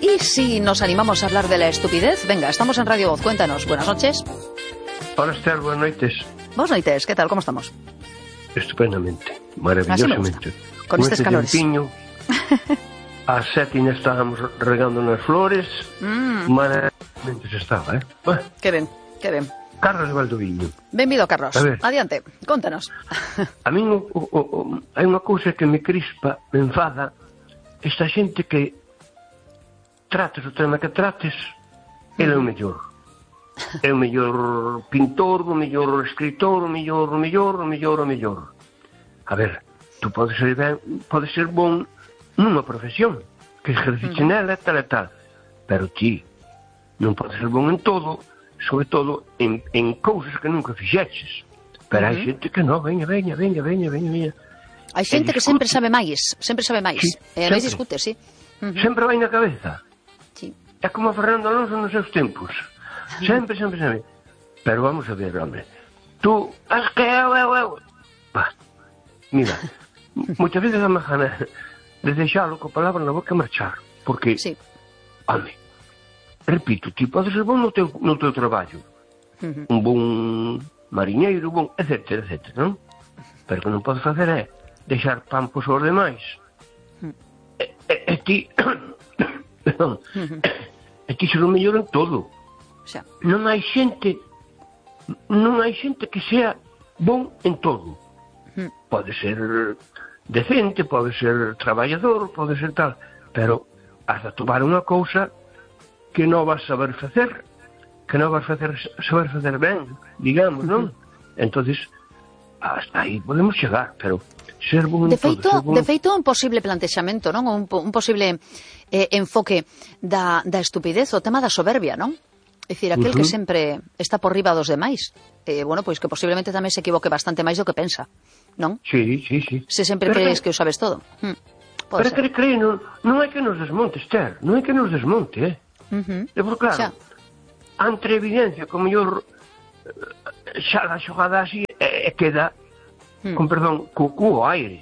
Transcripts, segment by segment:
¿Y si nos animamos a hablar de la estupidez? Venga, estamos en Radio Voz, cuéntanos. Buenas noches. Hola, Esther, buenas noites. Buenas noites, ¿qué tal? ¿Cómo estamos? Estupendamente, maravillosamente. Con estos calores. Tempiño, ás 7 estábamos regando nas flores, maravillosamente se estaba, Bueno, qué ben, que ben. Carlos de Valdoviño. Benvido, Carlos. Adiante, contanos. A min hai unha cousa que me crispa, me enfada, esta xente que trates o tema que trates, ele é o mellor. É o mellor pintor, o mellor escritor, o mellor. A ver, tú podes ser bon nunha profesión, que exerciche nela, tal e tal, pero ti non podes ser bon en todo, sobre todo en cousas que nunca fixeches. Pero hai xente que non, veña. Hai xente que sempre sabe máis. Sí, e non discute, sí. Sempre vai na cabeza. Sí. É como Fernando Alonso nos seus tempos. Sempre. Pero vamos a ver, hombre. Tú, es que eu. Mira, moitas veces dame gana de deixalo coa palabra na boca e marchar. Porque, sí. Hombre, repito, ti podes ser bon no teu traballo. Un bon mariñeiro, etcétera, non? Pero que non podes facer é deixar pampos aos demais. E ti perdón, e ti ser o mellor en todo. Xa. Non hai xente que sea bon en todo. Pode ser decente, pode ser traballador, pode ser tal, pero has de tomar unha cousa que non vas saber facer, que non vas saber facer ben, digamos, non? Entonces, hasta aí podemos chegar, pero ser bon en todo. De feito, un posible plantexamento, non? Un posible enfoque da estupidez, o tema da soberbia, non? É dicir, aquel que sempre está por riba dos demais, bueno, pois que posiblemente tamén se equivoque bastante máis do que pensa, non? Sí. Se sempre crees que o sabes todo. Pero que cree, non é que nos desmonte, Esther, non é que nos desmonte, Porque, claro, entre evidencia, como mellor xa la xogada así queda, con perdón, co aire.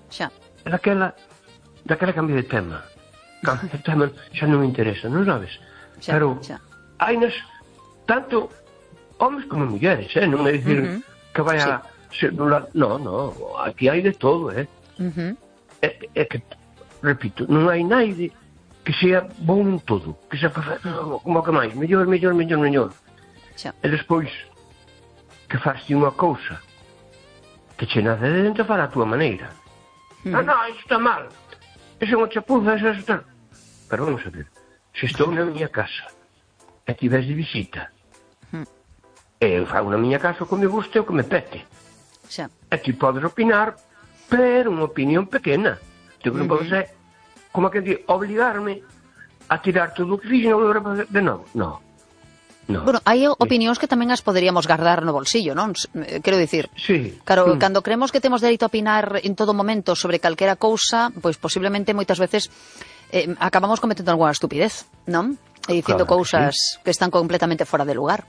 Xa. Daquela cambio de tema. Cambio de tema xa non me interesa, non sabes? Pero hai nas tanto homes como mulleres, non é dicir que vai a ser dun lado. No, aquí hai de todo, É que, repito, non hai naide que sea bon en todo, que sea como que máis, mellor. E despois que faste unha cousa que che nace de dentro para a túa maneira. Non, isto está mal, iso é unha chapuza, iso está. Pero vamos a ver, se estou na miña casa e tivés de visita, e eu fago na miña casa o que me guste o que me pete, e ti podes opinar, pero unha opinión pequena. Tu non podes ser como que di, obligarme a tirar todo o que fixe e non volver a fazer de novo. No. Bueno, hai opinións que tamén as poderíamos guardar no bolsillo, non? Quero dicir, sí. Claro, cando creemos que temos dereito a opinar en todo momento sobre calquera cousa, pois posiblemente moitas veces acabamos cometendo algunha estupidez, non? E dicindo cousas que están completamente fora de lugar.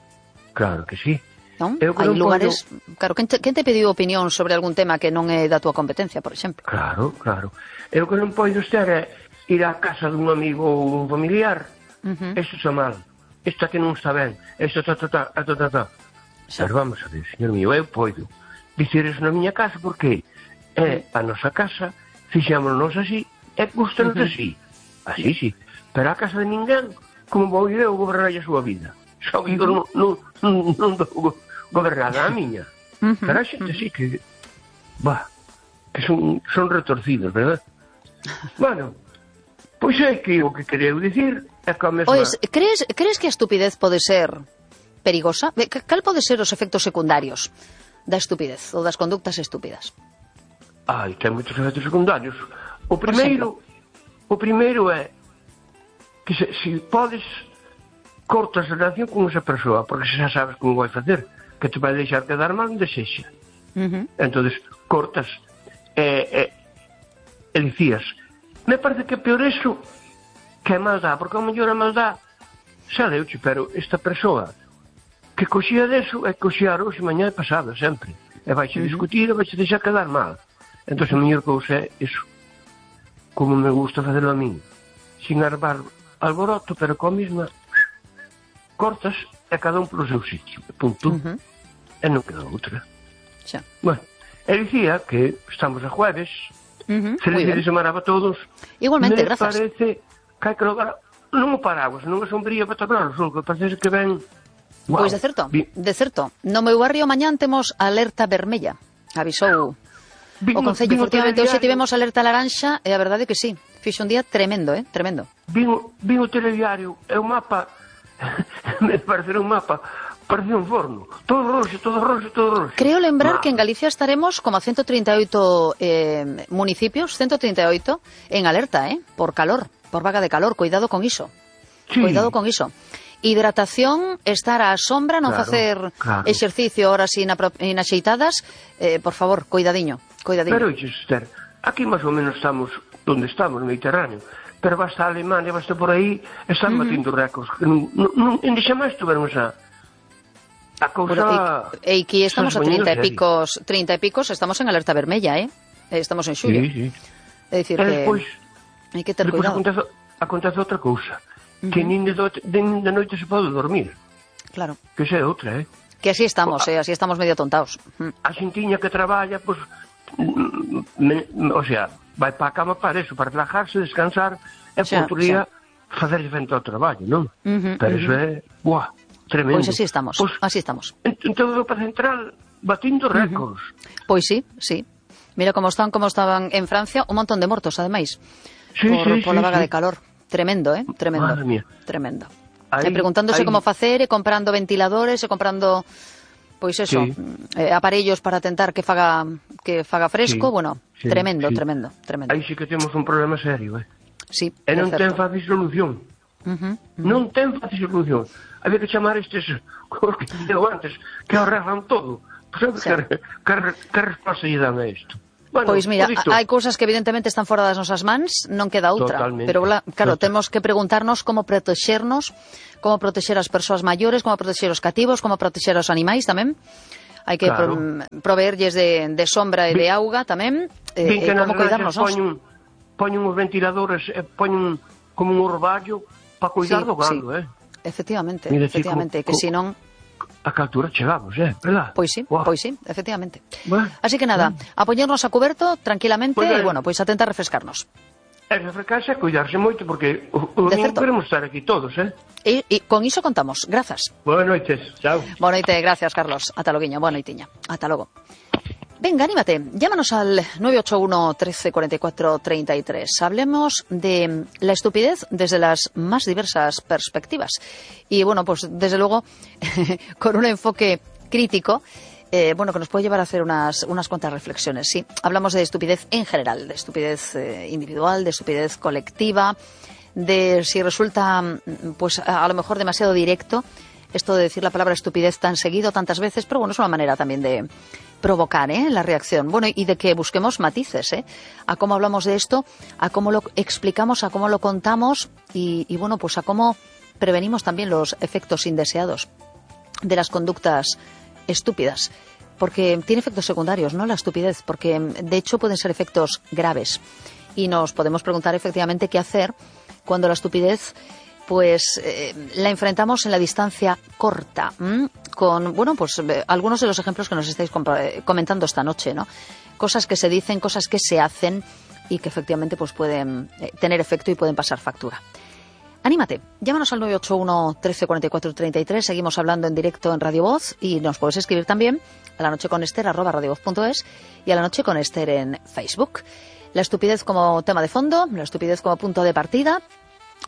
Claro que sí. Non? Hai lugares... Claro, quen te pediu opinión sobre algún tema que non é da túa competencia, por exemplo? Claro. Eu que non podo estar é ir á casa dun amigo ou un familiar. Isto está mal. Isto que non está ben. Isto ta. Pero vamos a ver, señor mío, eu podo dicir eso na miña casa porque é a nosa casa, fixámonos así, e gustanos así. Así, sí. Pero a casa de ninguén, como vou ir eu gobernar a súa vida? Só que non dou gobernada a miña. Pero a xente sí que son retorcidos, verdad? Bueno, pois é que o que quería dicir é que a mesma... Pois, crees que a estupidez pode ser perigosa? Cal pode ser os efectos secundarios da estupidez ou das conductas estúpidas? Ten moitos efectos secundarios. O primeiro é que se podes cortas a relación con esa persoa, porque xa sabes como vai facer, que te vai deixar quedar mal onde sexa. Entonces cortas e dicías, me parece que é peor eso que a maldad, porque ao mellor a maldad xa deuche, pero esta persoa que coxía deso é coxear hoxe, mañá e pasado, sempre, e vaixe discutir e vaixe deixar quedar mal. Entón a mellor cousa é iso, como me gusta facelo a min, sin armar alboroto, pero coa mesma cortas e cada un polo seu sitio, punto. E non queda outra. Xa. Bueno, e dicía que estamos a jueves, feliz de semana para todos. Igualmente, grazas. Me parece que hai que lograr non o paraguas, non a sombría para tapar o sol, que parece que ven... Wow. Pois de certo. No meu barrio mañán temos alerta vermella. Avisou o Concello. Efectivamente, hoxe tivemos alerta laranxa e a verdade é que sí. Fixo un día tremendo, tremendo. Vin o telediario e o mapa, me parecerá un mapa, parecía un forno. Todo roxo. Creo lembrar que en Galicia estaremos como a 138 municipios, 138, en alerta, por calor, por vaga de calor. Cuidado con iso. Sí. Cuidado con iso. Hidratación, estar á sombra, non facer exercicio horas inaxeitadas, por favor, cuidadiño. Pero, Esther, aquí máis ou menos estamos onde estamos, no Mediterráneo, pero basta a Alemania, basta por aí, están batindo récords. En xa máis tuveron a cousa... E aquí estamos a 30 e picos, estamos en alerta vermella, estamos en xullo. Sí. É dicir que hai que ter cuidado. Acontece outra cousa, que nin de noite se pode dormir. Claro. Que xa é outra, Que así estamos, así estamos medio tontados. A xentiña que traballa, pois, o sea, vai para a cama para eso, para relajarse, descansar, e por outro día facerse frente ao traballo, non? Pero eso é, tremendo. Pois así estamos, así estamos. En toda Europa Central, batindo récords. Pois sí. Mira como estaban en Francia, un montón de mortos, ademais, por la vaga de calor. Tremendo, tremendo. Madre mía. Tremendo. E preguntándose como facer, e comprando ventiladores, e comprando, pois eso, aparellos para tentar que faga fresco, bueno, tremendo. Aí sí que temos un problema serio, Sí, e non ten fácil solución. Non ten fácil solución. Había que chamar estes, como que digo antes, que arreglan todo. Que resposta lle dan a isto? Bueno, pois mira, hai cousas que evidentemente están fora das nosas mans, non queda outra. Totalmente. Pero claro, temos que preguntarnos como protexernos, como protexer as persoas maiores, como protexer os cativos, como protexer os animais tamén. Hai que proveerlles de sombra e de auga tamén, como cuidarnos. Poñen os ventiladores, poñen como un orballo para cuidar do gando, Efectivamente, que senón... A que altura chegamos, verdad? Pois sí, efectivamente. Así que nada, a poñernos a cuberto tranquilamente e, pois a tentar refrescarnos. Refrescarse e cuidarse moito, porque non queremos estar aquí todos, E con iso contamos. Grazas. Boas noites, chao. Boa noite, gracias, Carlos. Ata loguiño, boa noitiña. Ata logo. Venga, anímate, llámanos al 981 13 44 33. Hablemos de la estupidez desde las más diversas perspectivas. Y bueno, pues desde luego, con un enfoque crítico, que nos puede llevar a hacer unas cuantas reflexiones. Sí, hablamos de estupidez en general, de estupidez individual, de estupidez colectiva, de si resulta, pues a lo mejor demasiado directo esto de decir la palabra estupidez tan seguido, tantas veces, pero bueno, es una manera también de provocar la reacción. Bueno, y de que busquemos matices, a cómo hablamos de esto, a cómo lo explicamos, a cómo lo contamos y bueno, pues a cómo prevenimos también los efectos indeseados de las conductas estúpidas. Porque tiene efectos secundarios, ¿no? La estupidez, porque de hecho pueden ser efectos graves. Y nos podemos preguntar efectivamente qué hacer cuando la estupidez pues la enfrentamos en la distancia corta, con, algunos de los ejemplos que nos estáis comentando esta noche, ¿no? Cosas que se dicen, cosas que se hacen y que efectivamente pues pueden tener efecto y pueden pasar factura. Anímate, llámanos al 981 13 44 33, seguimos hablando en directo en Radio Voz y nos puedes escribir también a la noche con Esther @radiovoz.es y a la noche con Esther en Facebook. La estupidez como tema de fondo, la estupidez como punto de partida,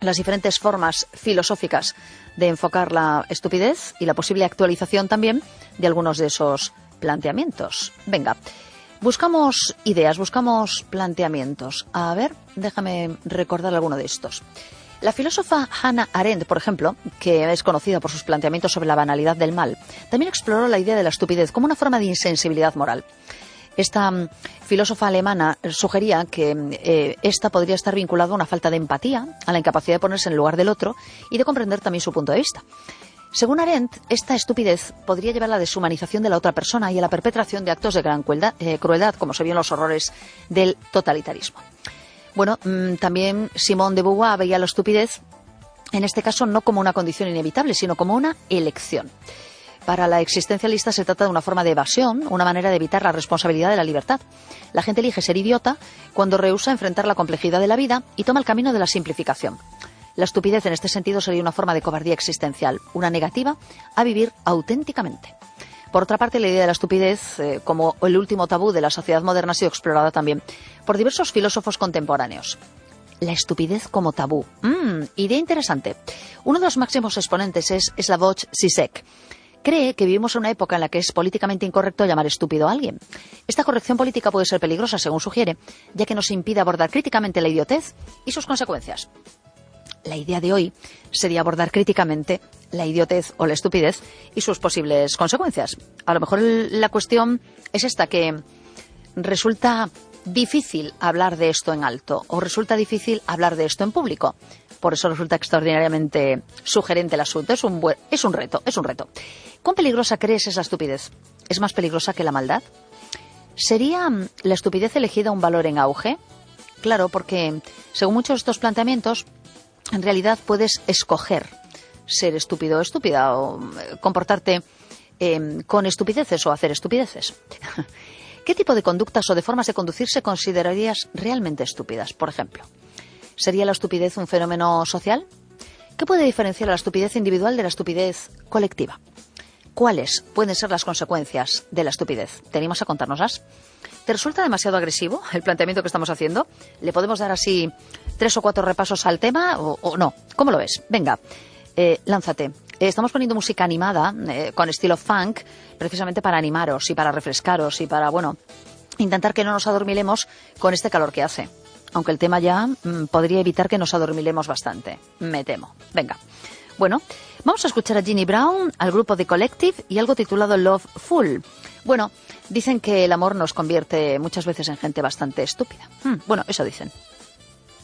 las diferentes formas filosóficas de enfocar la estupidez y la posible actualización también de algunos de esos planteamientos. Venga, buscamos ideas, buscamos planteamientos. A ver, déjame recordar alguno de estos. La filósofa Hannah Arendt, por ejemplo, que es conocida por sus planteamientos sobre la banalidad del mal, también exploró la idea de la estupidez como una forma de insensibilidad moral. Esta filósofa alemana sugería que esta podría estar vinculada a una falta de empatía, a la incapacidad de ponerse en el lugar del otro y de comprender también su punto de vista. Según Arendt, esta estupidez podría llevar a la deshumanización de la otra persona y a la perpetración de actos de gran crueldad, como se vio en los horrores del totalitarismo. Bueno, también Simone de Beauvoir veía la estupidez, en este caso no como una condición inevitable, sino como una elección. Para la existencialista se trata de una forma de evasión, una manera de evitar la responsabilidad de la libertad. La gente elige ser idiota cuando rehúsa enfrentar la complejidad de la vida y toma el camino de la simplificación. La estupidez en este sentido sería una forma de cobardía existencial, una negativa a vivir auténticamente. Por otra parte, la idea de la estupidez, como el último tabú de la sociedad moderna, ha sido explorada también por diversos filósofos contemporáneos. La estupidez como tabú. Idea interesante. Uno de los máximos exponentes es Slavoj Žižek. Cree que vivimos en una época en la que es políticamente incorrecto llamar estúpido a alguien. Esta corrección política puede ser peligrosa, según sugiere, ya que nos impide abordar críticamente la idiotez y sus consecuencias. La idea de hoy sería abordar críticamente la idiotez o la estupidez y sus posibles consecuencias. A lo mejor la cuestión es esta, que resulta difícil hablar de esto en alto o resulta difícil hablar de esto en público. Por eso resulta extraordinariamente sugerente el asunto. Es un reto. ¿Cuán peligrosa crees es la estupidez? ¿Es más peligrosa que la maldad? ¿Sería la estupidez elegida un valor en auge? Claro, porque según muchos de estos planteamientos, en realidad puedes escoger ser estúpido o estúpida o comportarte con estupideces o hacer estupideces. ¿Qué tipo de conductas o de formas de conducirse considerarías realmente estúpidas? Por ejemplo, ¿sería la estupidez un fenómeno social? ¿Qué puede diferenciar a la estupidez individual de la estupidez colectiva? ¿Cuáles pueden ser las consecuencias de la estupidez? ¿Te animas a contárnoslas? ¿Te resulta demasiado agresivo el planteamiento que estamos haciendo? ¿Le podemos dar así 3 o 4 repasos al tema o no? ¿Cómo lo ves? Venga, lánzate. Estamos poniendo música animada con estilo funk, precisamente para animaros y para refrescaros y para, intentar que no nos adormilemos con este calor que hace. Aunque el tema ya podría evitar que nos adormilemos bastante, me temo. Venga. Bueno, vamos a escuchar a Ginny Brown, al grupo The Collective y algo titulado Love Fool. Bueno, dicen que el amor nos convierte muchas veces en gente bastante estúpida. Eso dicen.